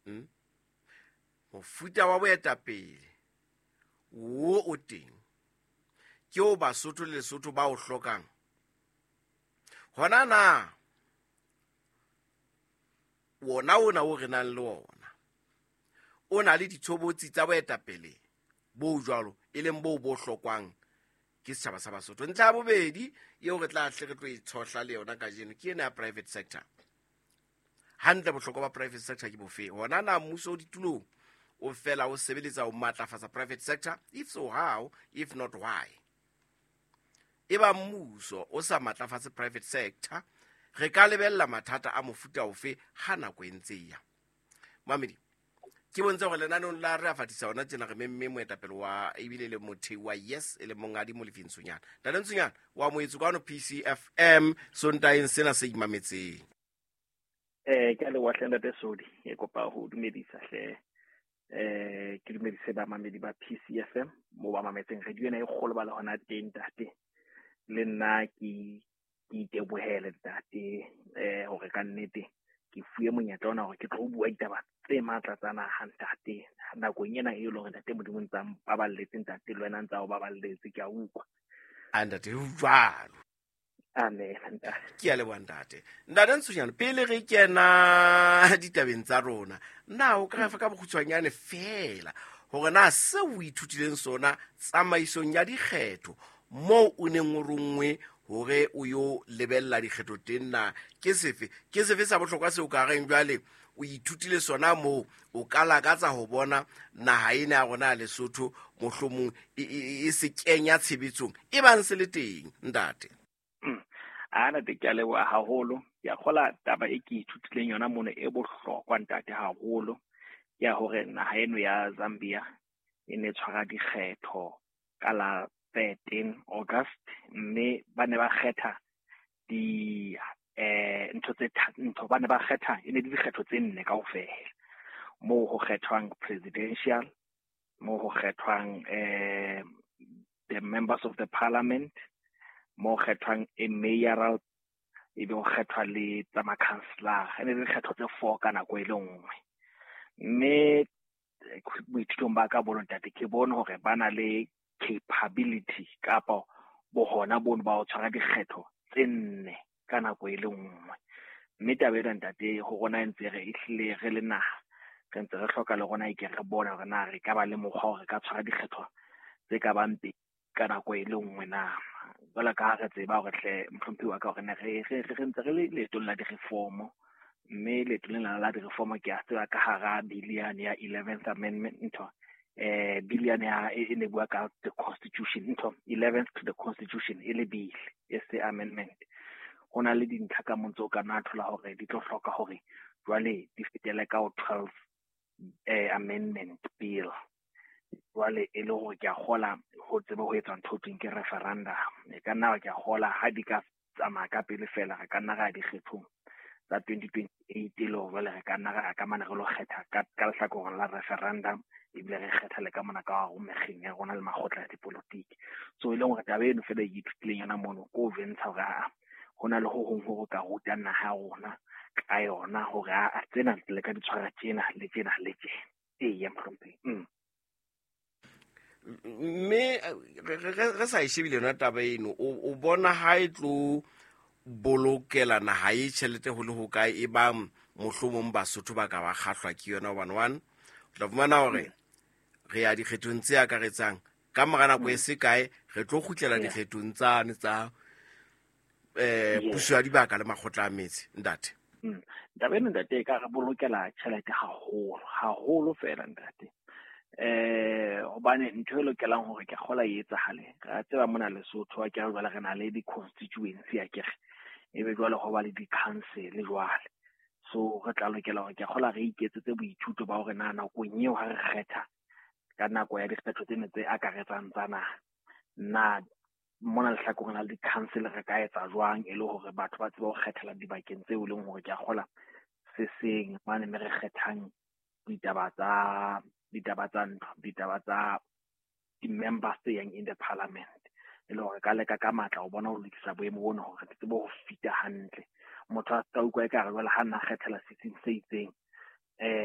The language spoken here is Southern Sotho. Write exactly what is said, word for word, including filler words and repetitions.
Hmm? Mofuta wa boetapele wo o teng ke o Basotho le Lesotho ba o hlokang. Hona na wona ona o re nang le ona o na le ditshobotsi tsa boetapele bo jwalo, e leng bo bo hlokwang ke setjhaba sa Basotho. Ntlha ya bobedi eo re tla hle re tlo e tshohla le yona kajeno ke ena ya private sector. Hantle bohlokwa ba private sector ke bofe? Hona na mmuso o ditulong o fela o sebeletsa ho matlafatsa private sector? If so, how? If not, why? E ba mmuso o sa matlafatse private sector, re ka lebella mathata a mofuta ofe ha nako e ntse e ya? Mamedi, ke bontshe hore lenaneong la re a fatisa hona tjena re memme moetapele wa ebile le mothei wa YES, e le monghadi Molefi Ntshonyana. Ntate Ntshonyana, wa moetso kwano P C F M Sontaeng sena se imametseng. Eh ke a leboha hle, ntate Sodi. Ke kopa ho dumedisa hle, eh ke dumedise bamamedi ba P C F M mo ba mametseng radio ena e kgolo ba le hona teng, ntate. Le nna ke ke itebohele, ntate, eh hore ka nnete ke fuwe monyetla ona hore ke tlo bua ditaba tse matla tsa naha, ntate, nakong ena e leng hore ntate Modimo ntsa mpaballetse, ntate, le wena ntsa o baballetse, ke a utlwa. A ntate, ho jwalo. Amen, ntate. Ke a leboha, ntate. Ntate Ntshonyana, pele re kena ditabeng tsa rona, na o ka re fa ka bokgutshwanyane feela hore na seo o ithutileng sona tsamaisong ya dikgetho moo o neng o ronngwe hore o yo lebella dikgetho teng na ke sefe? Ke sefe sa bohlokwa seo ka reng jwale o ithutile sona moo, o ka lakatsa ho bona naha ena ya rona ya Lesotho mohlomong e, e, e se kenya tshebetsong, e bang se le teng, ntate? A ntate, ke a leboha haholo. Ke a kgola taba e ke ithutileng yona mono e bohlokwa, ntate, haholo, ke ya hore naha eno ya Zambia e ne tshwara dikgetho ka la thirteen August, mme ba ne ba kgetha di eh ntho tse ntho ba ne ba kgetha, e ne le dikgetho tse nne kaofela, moo ho kgethwang presidential, moo ho kgethwang eh the members of the parliament, moo kgethwang a mayoral, ebe ho kgethwa le tsa ma-councillor. E ne le dikgetho tse four ka nako e le nngwe. Mme boithutong ba ka bono, ntate, ke bone hore ba na le capability kapa bohona bono ba ho tshwara dikgetho tse nne ka nako e le nngwe. Mme taba ena, ntate, ho rona e ntse re ehlile re le naha re ntse re hloka le rona e ke re bone hore na re ka ba le mokgwa hore re ka tshwara dikgetho tse ka bang pedi ka nako e le nngwe na. Jwalo ka ha re tseba hore hle, mohlomphehi wa ka, hore ne re re re ntse re le leetong la di-reform, mme leeto lena la di-reform, ke a tseba ka hara bill yane ya eleventh amendment, ntho eh bill yane ya e ne bua ka the constitution, ntho eleventh to the constitution, e le bill e se amendment. Ho na le dintlha ka mo ntse o ka nna thola hore di tlo hloka hore jwale di fetele ka ho twelve eh amendment bill. Jwale e le hore ke a kgola ho tsebe ho etsa ntho thweng ke referendum. E ka nna ke a kgola ha di ka tsamaya ka pele fela, re ka nna ra ya dikgethong tsa twenty twenty-eight, e le hore jwale re ka nna ra ka mane re lo kgetha ka ka lehlakoreng la referendum, ebile re kgetha le ka mona ka hare mekgeng ya rona le makgotla ya dipolotiki. So e leng hore taba eno fela e ke ithutileng yona mono ko ventsha hore aa ho na le ho hong ho re ka rutang naha ya rona ka yona, hore aa tsena le ka di tshwara tjena le tjena le tjena. Eya, mohlomphehi. mm. Mme re sa e shebile yona taba eno, o bona ha e tlo bolokela naha e tjhelete ho le ho kae, e bang mohlomong Basotho ba ka ba kgahlwa ke yona? Hobane one o tla fumana hore re ya dikgethong tse akaretsang, ka mora nako e se kae re tlo kgutlela dikgethong tsane tsa eh puso ya dibaka le makgotla a metse, ntate. Mm. Taba ena, ntate, e ka re bolokela tjhelete haholo haholo fela, ntate, eh hobane ntho e lokelang hore ke kgola e etsahale, re a tseba mona Lesotho a kere jwale re na le di-constituency, akere ebe jwale ho ba le di-council. Jwale so re tla lokela hore ke kgola re iketsetse boithuto ba hore na nakong eo ha re kgetha ka nako ya dikgetho tsena tse akaretsang tsa naha, na mona lehlakoreng la di-council re ka etsa jwang e le hore batho ba tsebe ho kgethela dibakeng tseo e leng hore ke a kgola se seng mane, mme re kgethang ditaba tsa ditaba tsa ntlo, ditaba tsa di-members tse yang in the parliament, e le hore ka leka ka matla ho bona ho lokisa boemo bona hore re tsebe ho fita hantle, motho a ska utlwa ekare jwale ha nna kgethela setsing se itseng. eh